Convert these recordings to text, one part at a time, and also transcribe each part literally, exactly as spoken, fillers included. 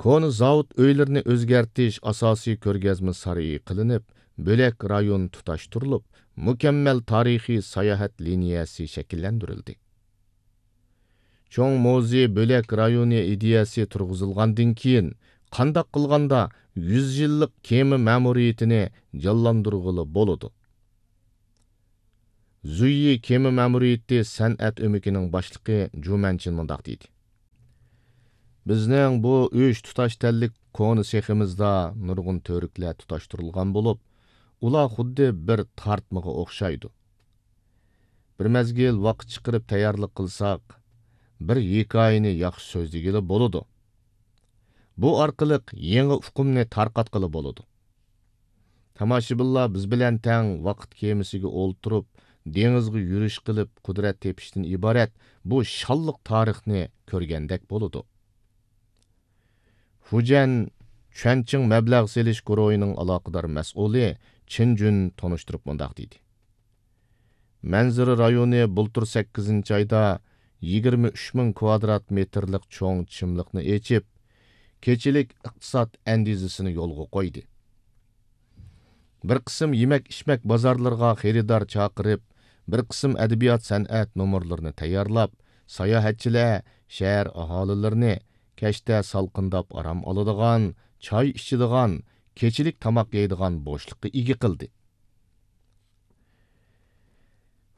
كونا زاۋۇت ئۆيلىرىنى ئۆزگەرتىش ئاساسىي كۆرگەزمە سارىيى قىلىنىپ، بۆلەك رايون تۇتاشتۇرۇلۇپ، مۇكەممەل تارىخىي ساياھەت لىنىيەسى شەكىللەندۈرۈلدى. چوڭ مۇزېي بۆلەك رايونى ئىدىيەسى تۇرغۇزۇلغاندىن كېيىن، قانداق قىلغاندا يۈز يىللىق كېمە مەمۇرىيىتىنى جانلاندۇرغىلى بولىدۇ؟ زۇيى كېمە مەمۇرىيىتى سەنئەت ئۆمىكىنىڭ باشلىقى جۇ مەنچىن مۇنداق دېدى: بىزنىڭ بۇ ئۈچ تۇتاش تەنلىك كونا سېخىمىزدا نۇرغۇن تۈۋرۈكلەر تۇتاشتۇرۇلغان بولۇپ، ئۇلار خۇددى بىر تارتمىغا ئوخشايدۇ. بىر مەزگىل ۋاقىت چىقىرىپ تەييارلىق قىلساق، بىر ھېكايىنى ياخشى سۆزلىگىلى بولىدۇ. بۇ ئارقىلىق يېڭى ئۇقۇمنى تارقاتقىلى بولىدۇ. تاماشىبىنلار بىز بىلەن تەڭ ۋاقىت كېمىسىگە ئولتۇرۇپ، دېڭىزغا يۈرۈش قىلىپ، قۇدرەت تېپىشتىن ئىبارەت بۇ شانلىق تارىخنى كۆرگەندەك بولىدۇ. فۇجيەن چۈەنچىڭ مەبلەغ سېلىش گۇرۇھىنىڭ ئالاقىدار مەسئۇلى چېن جۈن تونۇشتۇرۇپ مۇنداق دېدى: مەنزىرە رايونى بۇلتۇر سەككىزىنچى ئايدا يىگىرمە ئۈچ مىڭ كۋادرات مېتىرلىق چوڭ چىملىقنى ئېچىپ، كېچىلىك ئىقتىساد ئەندىزىسىنى يولغا قويدى. بىر قىسىم يېمەك-ئىچمەك بازارلىرىغا خېرىدار چاقىرىپ، بىر قىسىم ئەدەبىيات-سەنئەت نومۇرلىرىنى تەييارلاپ، ساياھەتچىلەر، شەھەر ئاھالىلىرىنى كەچتە سالقىنداپ ئارام ئالىدىغان، چاي ئىچىدىغان، كېچىلىك تاماق يەيدىغان بوشلۇققا ئىگە قىلدى.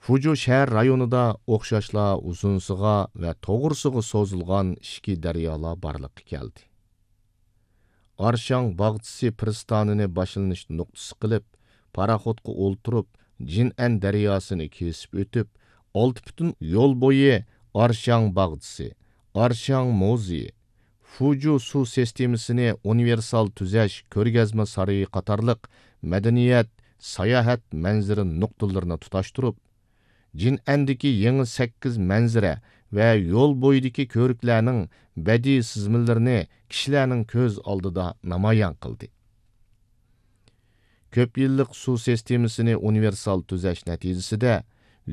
فۇجۇ شەھەر رايونىدا ئوخشاشلا ئۇزۇنسىغا ۋە توغرىسىغا سوزۇلغان ئىچكى دەريالار بارلىققا كەلدى. ئارشاڭ باغچىسى پىرىستانىنى باشلىنىش نۇقتىسى قىلىپ، پاراخوتقا ئولتۇرۇپ، جىنئەن دەرياسىنى كېسىپ ئۆتۈپ، ئالتە پۈتۈن يول بويى ئارشاڭ باغچىسى، ئارشاڭ مۇزېيى، فۇجۇ سۇ سىستېمىسىنى ئۇنىۋېرسال تۈزەش كۆرگەزمە سارىيى قاتارلىق مەدەنىيەت، ساياھەت مەنزىرە نۇقتىلىرىنى تۇتاشتۇرۇپ، جىنئەندىكى يېڭى سەككىز مەنزىرە ۋە يول بويىدىكى كۆۋرۈكلەرنىڭ بەدىئىي سىزمىلىرىنى كىشىلەرنىڭ كۆز ئالدىدا نامايان قىلدى. كۆپ يىللىق سۇ سىستېمىسىنى ئۇنىۋېرسال تۈزەش نەتىجىسىدە،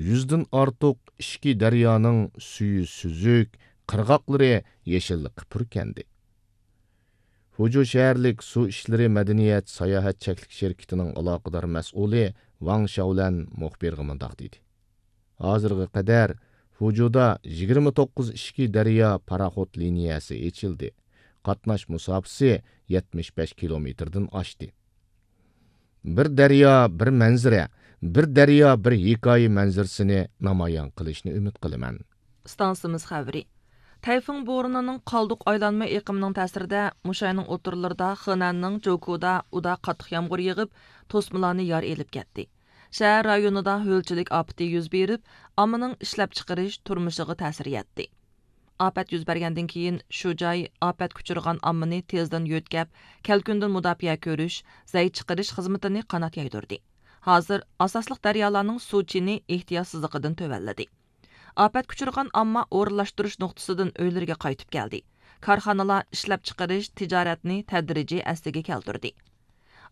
يۈزدىن ئارتۇق ئىچكى دەريانىڭ سۈيى سۈزۈك، قىرغاقلىرى يېشىللىققا پۈركەندى. فۇجۇ شەھەرلىك سۇ ئىشلىرى مەدەنىيەت ساياھەت چەكلىك شىركىتىنىڭ ئالاقىدار مەسئۇلى ۋاڭ شياۋلەن مۇخبىرغا مۇنداق دېدى: ھازىرغا قەدەر فۇجۇدا يىگىرمە توققۇز ئىچكى دەريا پاراخوت لىنىيەسى ئېچىلدى. قاتناش مۇساپىسى يەتمىش بەش كىلومېتىردىن ئاشتى. بىر دەريا، بىر مەنزىرە، بىر دەريا، بىر ھېكايە مەنزىرىسىنى نامايان قىلىشنى ئۈمىد قىلىمەن. ئىستانسىمىز خەۋىرى. تەيفۇڭ بورىنىنىڭ قالدۇق ئايلانما ئېقىمىنىڭ تەسىرىدە مۇشۇ ئاينىڭ ئوتتۇرىلىرىدا خېنەننىڭ جوكۇدا ئۇدا قاتتىق يامغۇر يېغىپ، توسمىلارنى يار ئېلىپ كەتتى. شەھەر رايونىدا ھۆلچىلىك ئاپىتى يۈز بېرىپ، ئاممىنىڭ ئىشلەپچىقىرىش، تۇرمۇشىغا تەسىر يەتتى. ئاپەت يۈز بەرگەندىن كېيىن، شۇ جاي ئاپەتكە ئۇچرىغان ئاممىنى تېزدىن يۆتكەپ، كەلكۈندىن مۇداپىئە كۆرۈش، زەي چىقىرىش خىزمىتىنى قانات يايدۇردى. ھازىر ئاساسلىق دەريالارنىڭ سۇ چېنى ئېھتىياتسىزلىقىدىن تۆۋەنلىدى. ئاپەتكە ئۇچرىغان ئامما ئورۇنلاشتۇرۇش نۇقتىسىدىن ئۆيلىرىگە قايتىپ كەلدى. كارخانىلار ئىشلەپچىقىرىش، تىجارەتنى تەدرىجىي ئەسلىگە كەلتۈردى.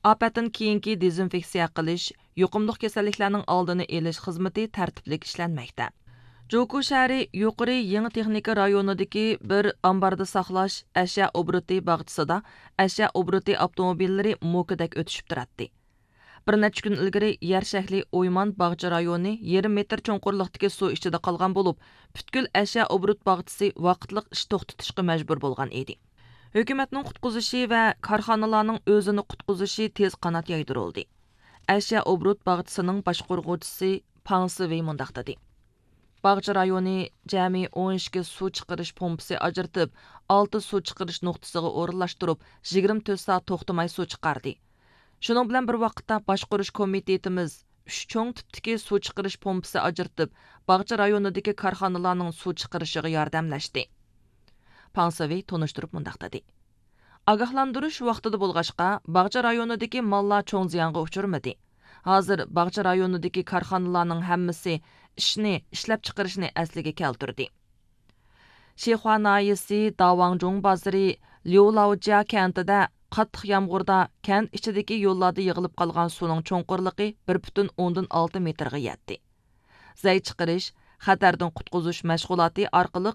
ئاپەتتىن كېيىنكى دېزىنفېكسىيە قىلىش، يۇقۇملۇق كېسەللىكلەرنىڭ ئالدىنى ئېلىش خىزمىتى تەرتىپلىك ئىشلەنمەكتە. جوكۇ شەھىرى يۇقىرى يېڭى تېخنىكا رايونىدىكى بىر ئامباردا ساقلاش ئەشيا ئوبوروتى باغچىسىدا ئەشيا ئوبوروتى ئاپتوموبىللىرى موكىدەك ئۆتۈشۈپ تۇراتتى. بىر نەچچە كۈن ئىلگىرى يەر شەكلى ئويمان باغچە رايونى يېرىم مېتىر چوڭقۇرلۇقتىكى سۇ ئىچىدە قالغان بولۇپ، پۈتكۈل ئەشيا ئوبوروت باغچىسى ۋاقىتلىق ئىش توختىتىشقا مەجبۇر بولغان ئىدى. ھۆكۈمەتنىڭ قۇتقۇزۇشى ۋە كارخانىلارنىڭ ئۆزىنى قۇتقۇزۇشى تېز قانات يايدۇرۇلدى. ئەشيا ئوبوروت باغچىسىنىڭ باشقۇرغۇچىسى پاڭ سىۋېي مۇنداق دېدى: باغچە رايونى جەمئىي ئون ئىككى سۇ چىقىرىش پومپىسى ئاجرىتىپ، ئالتە سۇ چىقىرىش نۇقتىسىغا ئورۇنلاشتۇرۇپ، يىگىرمە تۆت سائەت توختىماي سۇ چىقاردى. شۇنىڭ بىلەن بىر ۋاقىتتا، باشقۇرۇش كومىتېتىمىز ئۈچ چوڭ تىپتىكى سۇ چىقىرىش پومپىسى ئاجرىتىپ، باغچە رايونىدىكى كارخانىلارنىڭ سۇ چىقىرىشىغا ياردەملەشتى. پاڭ سىۋېي تونۇشتۇرۇپ مۇنداق دېدى: ئاگاھلاندۇرۇش ۋاقتىدا بولغاچقا، باغچە رايونىدىكى ماللار چوڭ زىيانغا ئۇچرىمىدى. ھازىر باغچە رايونىدىكى كارخانىلارنىڭ ھەممىسى ئىشنى، ئىشلەپچىقىرىشنى ئەسلىگە كەلتۈردى. شىخۇا ناھىيەسى داۋاڭجۇڭ بازىرى ليۇلاۋجيا كەنتىدە قاتتىق يامغۇردا كەنت ئىچىدىكى يوللاردا يىغىلىپ قالغان سۇنىڭ چوڭقۇرلۇقى بىر پۈتۈن ئوندىن ئالتە مېتىرغا يەتتى. زەي چىقىرىش، خەتەردىن قۇتقۇزۇش مەشغۇلاتى ئارقىلىق